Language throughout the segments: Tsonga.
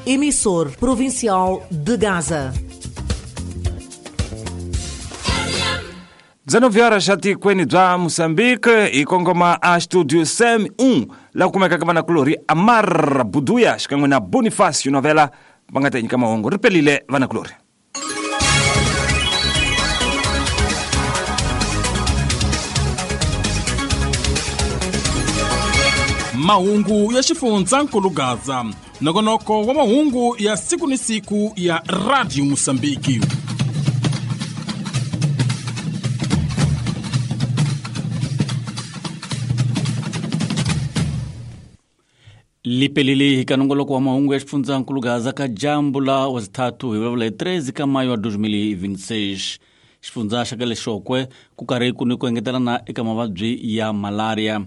Emissor provincial de Gaza. 19 horas atikweni bya Mozambique hi kongoma a studio Sam 1 la kumekaka vanakulorhi Amar Buduya xikan'we na Boniface Novela va nga ta nyika mahungu ri pelile vanakulorhi. Mahungu ya xifundzankulu Gaza, nongonoko wa mahungu ya siku ni siku ya Radio Mosambiki. Lipelile hi ka nongoloko wa mahungu ya xifundzankulu Gaza ka jambu la wazithathu hi vulavula hi 13 ka mayo wa 2026. Xifundza xa ka Lexokwe ku karhi ku ni ku engetelana eka mavabyi ya malaria.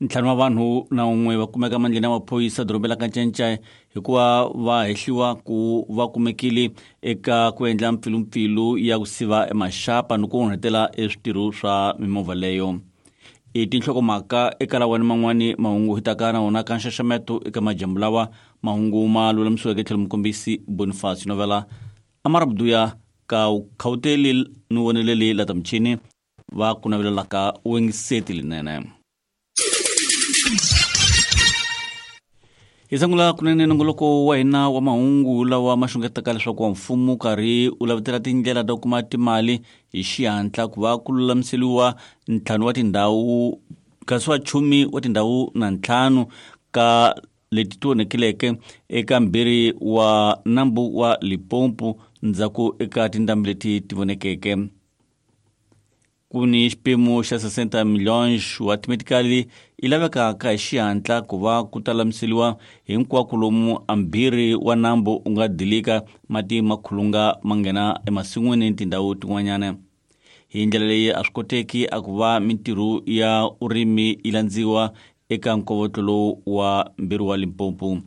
Ntlhanu wa vanhu na un'we va kumeka mandleni ya maphorisa dorobeni la Kanchenchai hikuva va hehliwa ku va kumekile eka ku endla mpfilumpfilu ya ku siva emaxapa ni ku onhetela eswitirho swa mimovha leyo. I tinhlokomhaka eka lawani man'wani mahungu hi taka na wona ka nxaxameto eka majambu lawa mahungu ma lulamisiweke tlhelo mukombisi Boniface Novela Amara Buduya ka khawuteli ni voneleli la ta michini va ku navelelaka wengiseti linene. Hi sungula kunene nongoloko wa hina wa mahungu lawa ma xungetaka leswaku wa mfumo karhi u lavetela tindlela ta ku kuma timali hi xihatla ku va ku lulamiseriwa ntlhanu wa tindhawu kasi wa chumi wa tindhawu na ntlhanu ka leti ti onhekileke eka mbirhi wa nambu wa Limpopo ndzhaku eka tindhambi leti ti vonekeke. Ku ni xipimo xa 60 milhões wa timetikali yi lavekaka hi xihatla ku va ku ta lamiseriwa hinkwako lomu ambirhi wa nambu u nga dilika mati ma khulunga ma nghena emasin'wini ni tindhawu tin'wanyana. Hi ndlela leyi a swi koteki a ku va mintirho ya urimi yi landziwa eka nkovotlo lowu wa mbirhi wa Limpopo.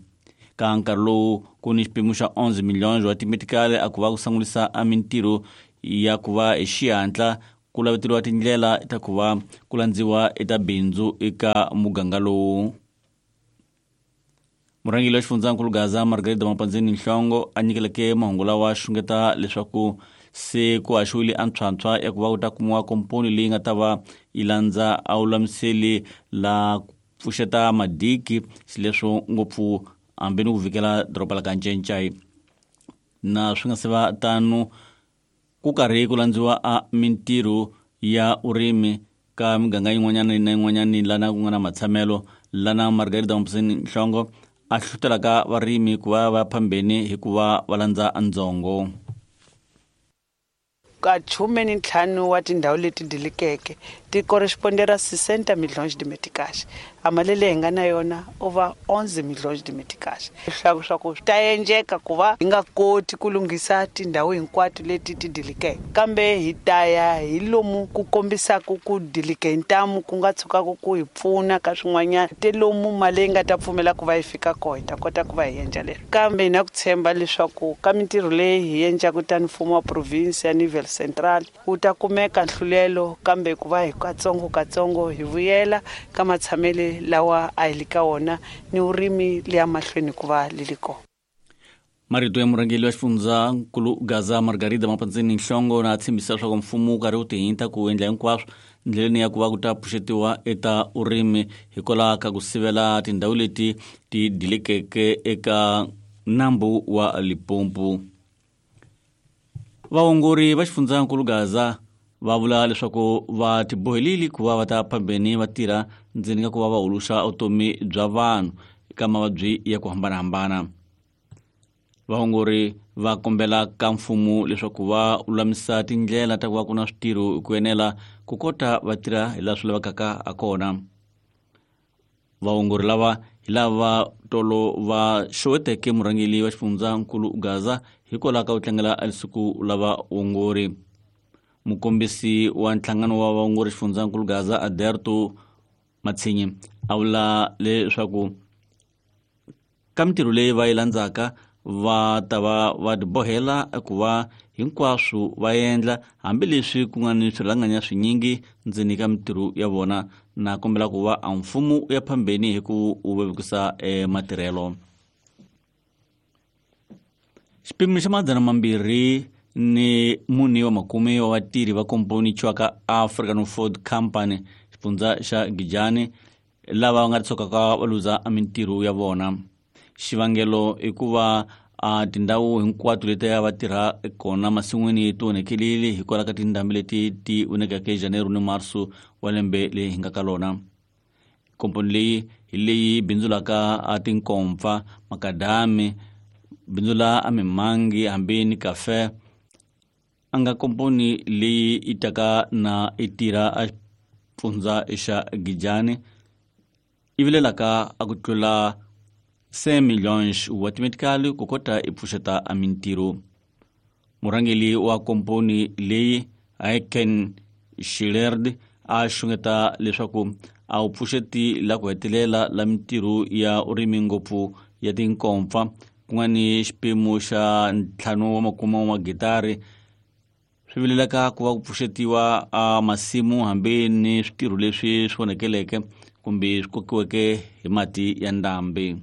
Ka nkarhi lowu ku ni xipimo xa 11 milhões wa timetikali a ku va ku sangulisa a mintirho ya ku va hi xihatla ku laveteriwa tindlela ta ku va ku landziwa eka bindzu eka muganga lowu. Murhangeri wa xifundzankulu Gaza Margarida Mapandzeni Nhlongo a nyikeleke mahungu lawa xungeta leswaku se ku haxiwile a ntshwantshwa ya ku va ku ta kumiwa komponi leyi nga ta va yi landza a wulamiseli la ku pfuxeta madiki xileswo ngopfu hambi ni ku vikela doroba la ka Ncencai. Na swi nga se va tano ku karhi ku landziwa a mintirho ya urimi ka miganga yin'wanyana na yin'wanyana lana ku nga na matshamelo lana Margarida Mapandzeni Nhlongo a hlohlotelaka varimi ku va va phambeni hi ku va va landza ndzongo. Ka 15 wa tindhawu leti dilikeke ti correspondera 60 milhões de meticais. A mali leyi hi nga na yona over 11 milhões de meticais. Leswaku swa ku swi ta endleka ku va hi nga koti ku lunghisa tindhawu hinkwato leti ti dilikeke, kambe hi ta ya hi lomu ku kombisaka ku dilike hi ntamu ku nga tshukaka ku hi pfuna ka swin'wanyana te lomu mali leyi nga ta pfumela ku va yi fika kona hi ta kota ku va hi endla leswi. Kambe hi na ku tshemba leswaku ka mintirho leyi hi endlaka tani mfumo wa province ya Nivel Central wu ta kumeka nhlulelo, kambe ku va hi katsongo katsongo hi vuyela ka matshamele lawa a hi li ka wona ni vurimi leya mahlweni ku va li li kona. Marito ya murhangeri wa xifundzankulu Gaza Margarida Mapandzeni Nhlongo na tshembisa leswaku mfumo wu karhi wu tihinta ku endla hinkwaswo ndleleni ya ku va ku ta pfuxetiwa eka urimi hikwalaho ka ku sivela tindhawu leti ti dilekeke eka nambu wa Limpopo. Vaongori va xifundzankulu Gaza va vula leswaku va tibohelile ku va va ta phambeni va tirha ndzeni ka ku va va huluxa vutomi bya vanhu eka mavabyi ya ku hambanahambana. Vaongori va kombela ka mfumo leswaku va lulamisa tindlela ta ku va ku na switirho hi ku enela ku kota va tirha hi laha swi lavekaka ha kona. Vaongori lava hi lava tolo va xeweteke murhangeri wa xifundzankulu Gaza hikwalaho ka ku tlangela siku la vaongori. Mukombisi wa nhlangano wa vaongori xifundzankulu Gaza Aderto Matsinyi a vula leswaku ka mintirho leyi va yi landzaka va ta va va tibohela ku va hinkwaswo va endla hambileswi ku nga ni swirhalanganya swinyingi ndzeni ka mintirho ya vona, na kombela ku va a mfumo wu ya phambeni hi ku wu vevukisa matirhelo. Xipimo xa 204 wa makume wa vatirhi va komponi chwaka African Ford Company xifundza xa Gijani lava va nga tshukaka va luza mintirho ya vona. Xivangelo i ku va a tindhawu hinkwato leti a va tirha kona masin'wini ti onhekelile hikwalaho ka tindhambi leti ti vonekeke Janeiro ni Marso wa lembe leyi hi nga ka lona. Komponi leyi hi leyi bindzulaka a tinkompfa, makadami, bindzula a mimangi hambi ni kafe. A nga komponi leyi yi taka na i tirha a xifundza xa Gijani yi vilelaka a ku tlula 5 milhões wa timetikali ku kota i pfuxeta a mintirho. Murhangeri wa komponi leyi Aiken Shilerd a xungeta leswaku a wu pfuxeti la ku hetelela la mintirho ya urimi ngopfu ya tinkompfa ku nga ni xipimo xa 5 wa makume wa magitari. Swi vilelaka ku va ku pfuxetiwa a masimu hambi ni switirho leswi swi onekeleke kumbe swi kokiweke hi mati ya ndhambi.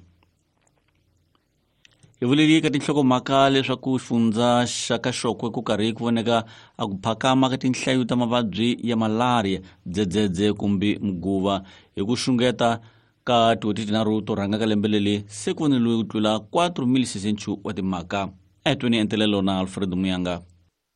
Hi vuleli ka tinhlokomhaka leswaku xifundza xa ka Xokwe ku karhi ku voneka a ku phakama ka tinhlayo ta mavabyi ya malaria, dzedzedze kumbe muguva hi ku xungeta ka tin'hweti tinharhu to rhanga ka lembe leri se ku voneliwe ku tlula 4,600 wa timhaka. A hi tweni entelelo na Alfred Muyanga.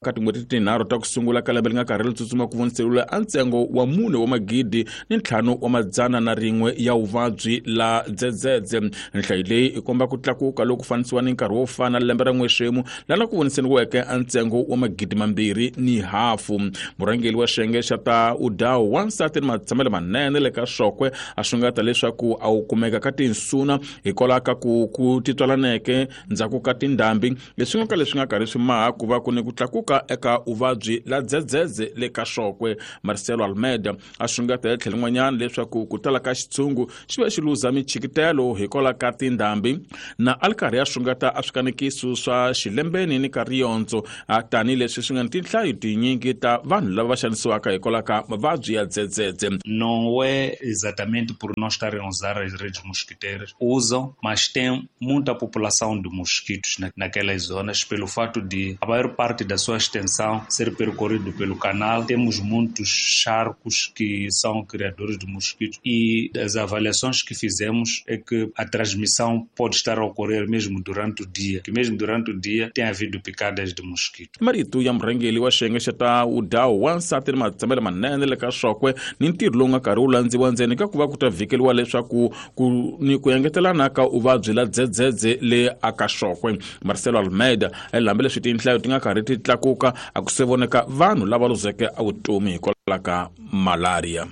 Ka tin'hweti tinharhu ta ku sungula ka lembe li nga karhi li tsutsuma ku voniseriwile a ntsengo wa 4 wa magidi ni 5 wa madzana na rin'we ya vuvabyi la dzedzedze. Nhlayo leyi i komba ku tlakuka loku fanisiwa ni nkarhi wo fana lembe ra n'wexemu lana ku voniseriweke a ntsengo wa magidi 2.5. Murhangeri wa xiyenge xa ta udawu wansati ni matshamelo manene le ka Xokwe a xungeta leswaku a wu kumeka ka tinsuna hikwalaho ka ku titwalaneke ndzhaku ka tindhambi leswi nga ka leswi nga karhi swi maha ku va ku ni ku tlakuka eka uvabyi la dzedzedze le ka Xokwe. Marcelo Almeida a xungeta hi tlhelo rin'wanyana leswaku ku tala ka xitshungu xi va xi luza michikitelo hikwalaho ka tindhambi na a li karhi a xungeta a swikanekiso swa xilembeni ni ka riyondzo tanihileswi swi nga ni tinhlayo tinyingi ta vanhu lava va xanisiwaka hikwalaho ka mavabyi ya dzedzedze. Não é exatamente por não estarem a usar as redes mosquiteiras, usam, mas tem muita população de mosquitos naquelas zonas pelo fato de a maior parte da sua extensão ser percorrido pelo canal. Temos muitos charcos que são criadores de mosquitos e as avaliações que fizemos é que a transmissão pode estar a ocorrer mesmo durante o dia, que mesmo durante o dia tem havido picadas de mosquito. Marito ya murhangeri wa xiyenge xa ta udawu wansati ni matshamelo manene le ka Xokwe ni ntirho lowu nga karhi wu landziwa ndzeni ka ku va ku ta vhikeliwa leswaku ku ni ku engetelana ka uvabyi la dzedzedze le aka Xokwe. Marcelo Almeida hambileswi tinhlayo ti nga karhi ti tlakuka a ku se voneka vanhu lava luzeke a vutomi hikwalaho ka malaria.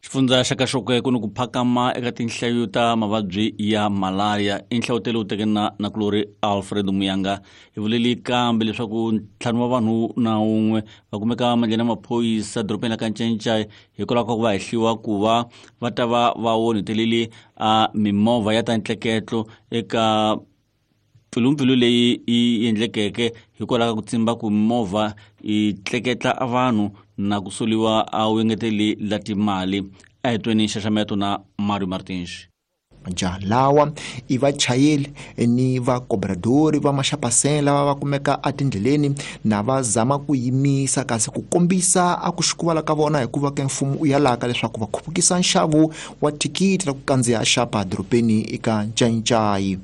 Xifundza xa ka Xokwe ku ni ku phakama eka tinhlayo ta mavabyi ya malaria. I nhlawutelo wu teke na nakulori Alfred Muyanga. Hi vuleli kambe leswaku 5 wa vanhu na un'we va kumeka mandleni ya maphorisa dorobeni la ka Ncencai hikwalaho ka ku va hehliwa ku va va ta va va onhetelele a mimovha ya ta ntleketlo eka mpfilumpfilu leyi yi endlekeke hikwalaho ka ku tsimba ku mimovha yi tleketla a vanhu na ku soliwa a wu engeteli la timali. A hi tweni nxaxameto na Mario Martins. Majaha lawa i vachayeri ni vakobradori va maxapaseni lava va kumeka etindleleni na va zama ku yimisa kasi ku kombisa a ku xikuvala ka vona hikuva ke mfumo u yalaka leswaku va khupukisa nxavo wa thikithi ra ku kandziya xapa dorobeni eka Ncayicayi.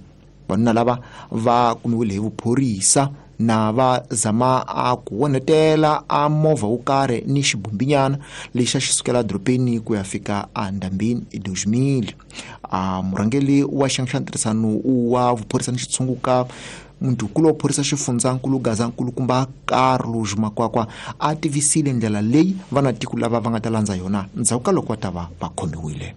Vanuna lava va kumiwile hi vuphorisa na va zama a ku onhetela a movha wo karhi ni xibumbinyana lexi a xi sukela dorobeni ku ya fika endhambini i 2000. A murhangeri wa xiyenge xa ntirhisano wa vuphorisa ni xitshunguka muntukulu wa phorisa xifundzankulu Gazankulukumba Carlos Makwakwa a tivisile ndlela leyi vanatiko lava va nga ta landza yona ndzhaku ka loko va ta va va khomiwile.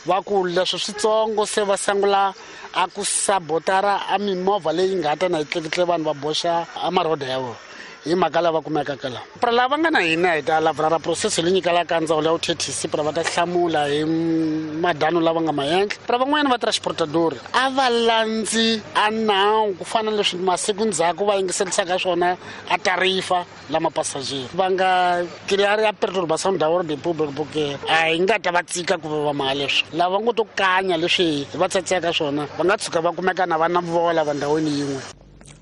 Va ku leswi switsongo se va sungula a ku sabotara a mimovha leyi nga ta na yi tleketle vanhu va boxa a maroda ya vona hi mhaka lava kumekaka laha. Pra lava nga na hina hi ta lavra process leyi nyikelaka ndzawulo ya vuthethisi pra va ta hlamula hi madano lava nga ma endla. Pra van'wanyana va transportador a va landzi a nawu ku fana na leswi masiku ndzhaku va yingiserisaka swona a tarifa lama passager va nga clear ya perturbação da ordem pública porque a hi nga ta va tsika ku va maha leswi lava ngo to kanya leswi va tsatseka swona va nga tshuka va kumeka na va na vola va ndhawini yin'we.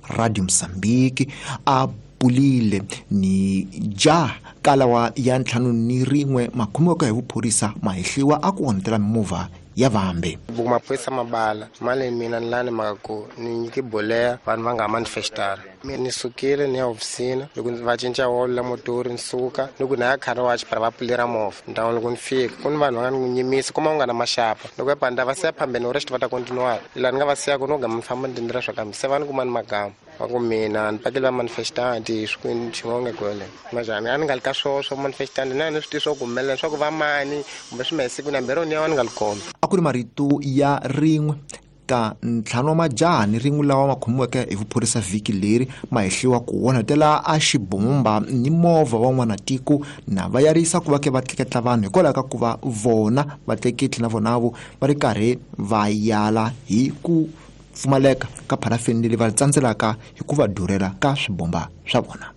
Radio Mozambique a pulile ni ja kalawa ya 51 makhomiwaka hi vuphorisa mahehliwa a ku onhetela mimovha ya vambe. Maphorisa mabala mali mina ni lani mhaka ku ni nyike boleya vanhu va nga manifestara. Mina ni sukile ni ya hofisini loko va cinca wolo la motori ni suka ni ku na ya car wash para va pfulera movha ndhawu loko ni fika ku ni vanhu va nga ni nyimisa kuma u nga na maxapa loko ya panda va siya phambeni rest va ta continue laha ni nga va siya ku no gama ni famba ni tindlela swa kambe se va ni kuma ni magama va ku mina ni pakele va manifestanti swikwini xin'wana kwele majani a ni nga li ka swo swo manifestanti na ni swi tivi swo ku humelela swa ku va mani kumbe swi ma siku na mbirhi ni ya ni nga li kombi. A ku ri marito ya rin'we ka 5 wa majaha ni rin'we lawa ma khomiweke hi vuphorisa vhiki leri mahehliwa ku onhetela a xibomba ni movha wa n'wanatiko na va yarisa ku va ke va tleketla vanhu hikwalaho ka ku va vona vatleketli na vonavo va ri karhi va yala hi ku pfumaleka ka pharafini leri va tsandzelaka hi ku va durhela ka swibomba swa vona.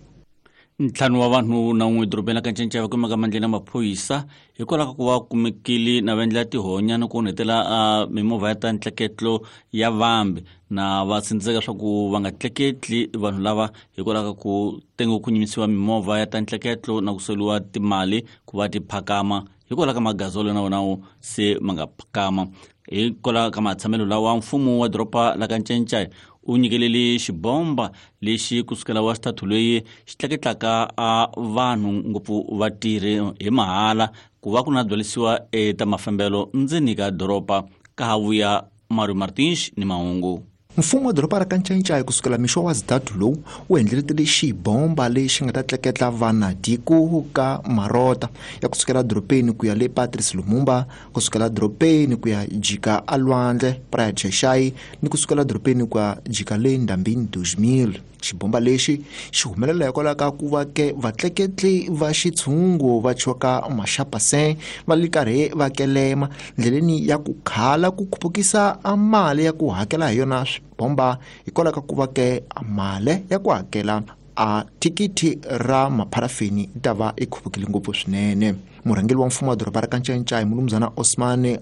5 wa vanhu na 1 dorobeni la Kanchenchava kumeka mandleni ya maphorisa hikwalaho ka ku va kumekile na va endla tihonya ni ku onhetela mimovha ya ta ntleketlo ya vambe na va tsindzeka swa ku va nga tleketli vanhu lava hikwalaho ka ku tengo ku nyimisiwa mimovha ya ta ntleketlo na ku soliwa timali ku va ti phakama hikwalaho ka magazolo na wona se ma nga phakama. Hikwalaho ka matshamelo lawa mfumo wa doroba la Kanchenchai u nyikelele xibomba lexi kusukela wa xithathu leyi xi tleketlaka a vanhu ngopfu vatirhi hi mahala ku va ku na byalisiwa eta mafambelo ndzeni ka doroba ka ha vuya Mario Martins ni mahungu. Mfumo wa doroba ra Kanchenchai kusukela mixo wa xithathu lowu wu endleletele xibomba lexi nga ta tleketla vanatiko ka marota ya kusukela dorobeni ku ya le Patrice Lumumba, kusukela dorobeni ku ya jika alwandle Praia Cheshai ni kusukela dorobeni ku ya jika le Ndambini 2000. Xibomba lexi xi humelela hikwalaho ka ku va ke vatleketli va xitshungu va choka maxapasen va li karhi va kelema ndleleni ya ku khala ku khupukisa a mali ya ku hakela hi yona swibomba hikwalaho ka ku va ke mali ya ku hakela a thikithi ra mapharafini yi ta va yi khupukile ngopfu swinene. Murhangeri wa mfumo wa doroba ra Kanchenchai Mulumuzana Osman